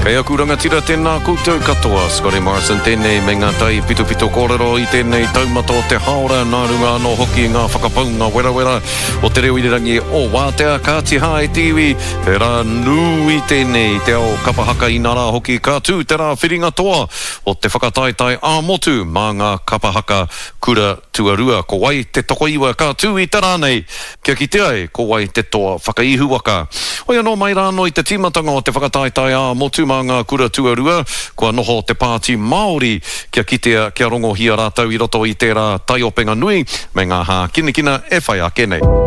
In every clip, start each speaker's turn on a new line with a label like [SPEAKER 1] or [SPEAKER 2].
[SPEAKER 1] Kei aku rangatira tēnā koutou katoa, Scotty Morrison tēnei me ngā tai pitopito kōrero i tēnei taumata o te hāora nā runga anō hoki i ngā whakapaunga werawera o te reo irirangi o Wātea. Kāti hā e te iwi, he rā nui tēnei i te ao kapa haka inarā hoki ka tū te rā whiringa toa o te whakataetae ā-motu mā ngā kapa haka kura tuarua. Ko wai te tokoiwa ka tū i te rā nei kia kite ai ko wai te toa whakaihuwaka. Hoi anō mai rā anō i te tīmatanga o te whakataetae ā-motu mā ngā kura tuarua, kua noho te Pāti Māori kia kitea, kia rongohia rātou i roto i tērā taiopenga nui me ngā hākinakina e whai ake nei.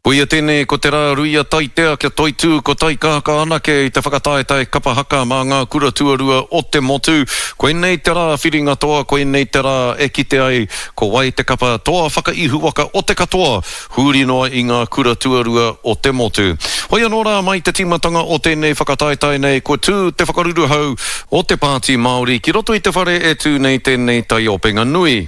[SPEAKER 1] Koia tēnei ko te rā ruia taitea kia toitū ko taikākā anake i te whakataetae kapa haka mā ngā kura tuarua o te motu. Koinei te rā whiringa toa, koinei te rā e kite ai ko wai te kapa toa whakaihuwaka o te katoa huri noa i ngā kura tuarua o te motu. Hoi anō rā mai te tīmatanga o tēnei whakataetae nei kua tū te whakaruruhau o te Pāti Māori ki roto i te whare e tū nei tēnei taiopenga nui.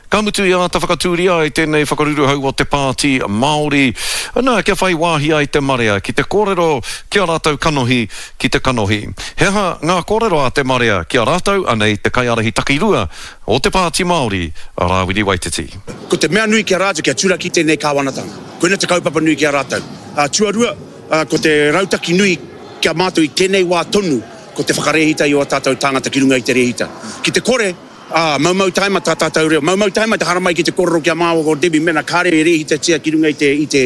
[SPEAKER 1] Ka mutu i āta whakatūria ai tēnei whakaruruhau o te Pāti Māori, ana, kia whai wāhi ai te marea ki te kōrero ki a rātou kanohi ki te kanohi. He aha ngā kōrero a te marea ki a rātou, anei te kaiārahi takirua o te Pāti Māori, a Rāwiri Waititi.
[SPEAKER 2] Ko te mea nui ki a rātou kia turaki tēnei kāwanatanga. Koina te kaupapa nui ki a rātou. Tuarua, ko te rautaki nui ki a mātou i tēnei wā tonu, ko te whakarēhita i ō tātou tāngata ki runga i te rēhita. Ki te kore, Ā, maumau taima tā tātou reo. Maumau taima te haramai ki te kōrero ki a māua ko Debbie mēnā kāre e rēhitatia ki runga i te, i te,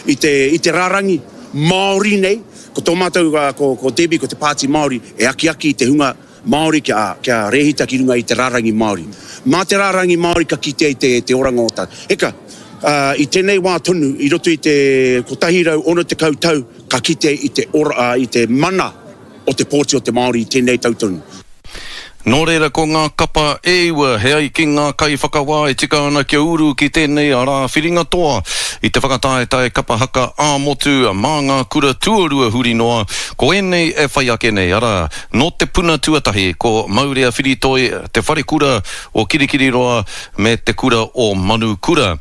[SPEAKER 2] i te, i te rārangi Māori nei. Ko tō mātou, ko, ko Debbie, ko te Pāti Māori e akiaki i te hunga Māori kia, kia rēhita ki runga i te rārangi Māori. Mā te rārangi Māori ka kitea i te, te oranga o tā. Eka, ā, i tēnei wā tonu, i roto i te 160 tau ka kitea i te ora, ā, i te mana o te pōti o te Māori i tēnei tau tonu.
[SPEAKER 1] Nō reira ko ngā kapa e iwa he ai ki ngā kaiwhakawā e tika ana kia uru ki tēnei rā whiringa toa i te whakataetae kapa haka ā-motu mā ngā kura tuarua huri noa, ko ēnei e whai ake nei, arā, nō te puna tuatahi ko Maurea Whiritoi, Te Wharekura o Kirikiriroa me Te Kura o Manukura.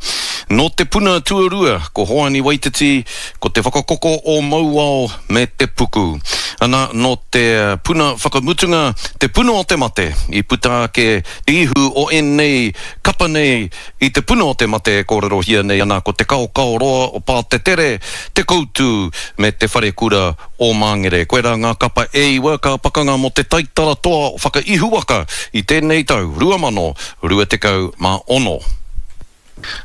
[SPEAKER 1] Nō te puna tuarua ko Hoani Waititi, ko Te Whakakoko o Mauao me Te Puku. Ana, nō te puna whakamutunga, te puna o te mate, i puta ake te ihu o ēnei kapa nei i te puna o te mate e kōrerohia nei ana ko Te Kaokaoroa o Pātetere, Te Koutu me Te Wharekura o Māngere. Koirā ngā kapa e iwa ka pakanga mō te taitara toa whakaihuwaka i tēnei tau 2026.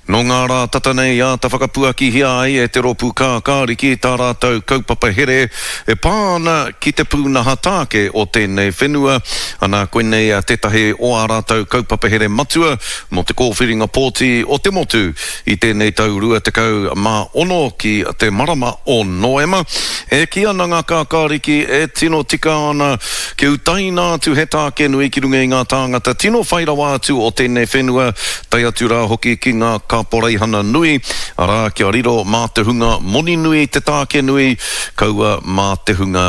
[SPEAKER 1] Nō ngā rā tata nei i āta whakapuakihia ai e te Rōpū Kākāriki tā rātou kaupapa here e pā ana ki te pūnaha tāke o tēnei whenua, ana koinei tētahi o ā rātou kaupapa here matua mō te kōwhiringa pōti o te motu i tēnei tau 26 ki te marama o Noema. E kī ana ngā kākāriki e tino tika ana kia utaina atu he tāke nui ki runga i ngā tāngata tino whai rawa atu o tēnei whenua, tae atu rā hoki ki ngā kaporeihana nui, arā, kia riro mā te hunga moni nui te tāke nui, kaua mā te hunga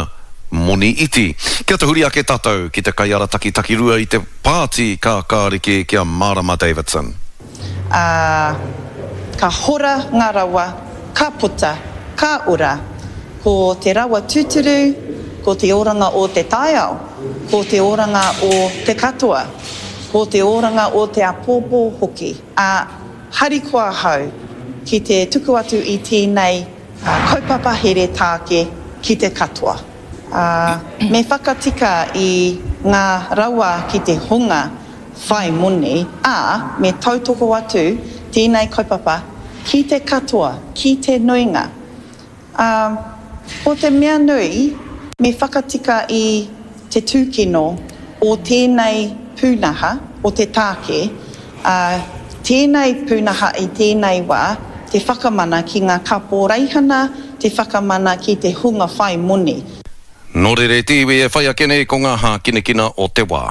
[SPEAKER 1] moni iti. Kia tahuri ake tātou ki te kaiarataki takirua i te Pāti Kākāriki ki a Marama Davidson.
[SPEAKER 3] Ā, ka hora ngā rawa, ka puta, ka ora. Ko te rawa tūturu, ko te oranga o te taiao, ko te oranga o te katoa, ko te oranga o te āpōpō hoki. Ā, harikoa ahau ki te tuku atu i tēnei kaupapa here tāke ki te katoa. Ā, me whakatika i ngā rawa ki te hunga whai moni, ā, me tautoko atu tēnei kaupapa ki te katoa, ki te nuinga. Ā, ko te mea nui, me whakatika i te tūkino o tēnei pūnaha, o te tāke, ā, tēnei pūnaha i tēnei wā, te whakamana ki ngā kaporeihana, te whakamana ki te hunga whai moni.
[SPEAKER 1] Nō reira e te iwi e whai ake nei ko ngā hākinakina o te wā.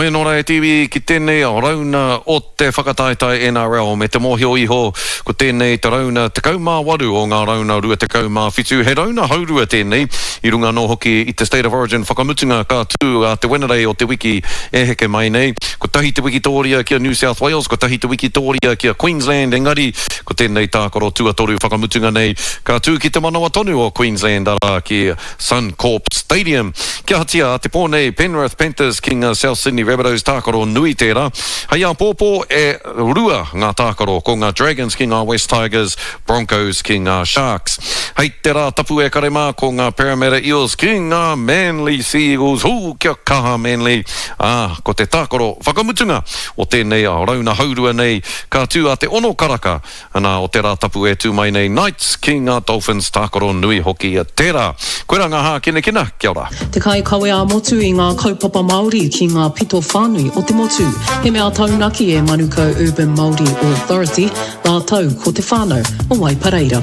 [SPEAKER 1] Hoi anō rā e te iwi ki tēnei rauna o te whakataetae NRL me te mōhio iho ko tēnei te rauna 18 o ngā rauna 27. He rauna haurua tēnei i runga anō hoki i te State of Origin whakamutunga ka tū a te Wenerei o te wiki e heke mai nei. Kotahi te wikitōria ki a New South Wales, kotahi te wikitōria ki a Queensland engari ko tēnei tākaro tuatoru whakamutunga nei ka tū ki te manawa tonu o Queensland arā ki Suncorp Stadium. Kia ahatia a te pō nei, Penrith Panthers ki ngā South Sydney Rabbitohs tākaro nui tērā. Hei āpōpō e rua ngā tākaro, ko ngā Dragons ki ngā West Tigers, Broncos ki ngā Sharks. Hei te rā tapu e kare mā, ko ngā Parramatta Eels ki ngā Manly Sea Eagles. Hū, kia kaha Manly! Ā, ko te tākaro whakamutunga o tēnei rauna haurua nei, ka tū a te ono karaka Ana, o te Rātapu e tū mai nei Knights ki ngā Dolphins tākaro nui hoki tērā. Koirā ngā hākinakina, kia ora.
[SPEAKER 4] Te kaikawe ā-motu i ngā kaupapa Māori ki ngā pito whānui o te motu. He mea taunaki e Manukau Urban Māori Authority rātou ko te whānau o Waipareira.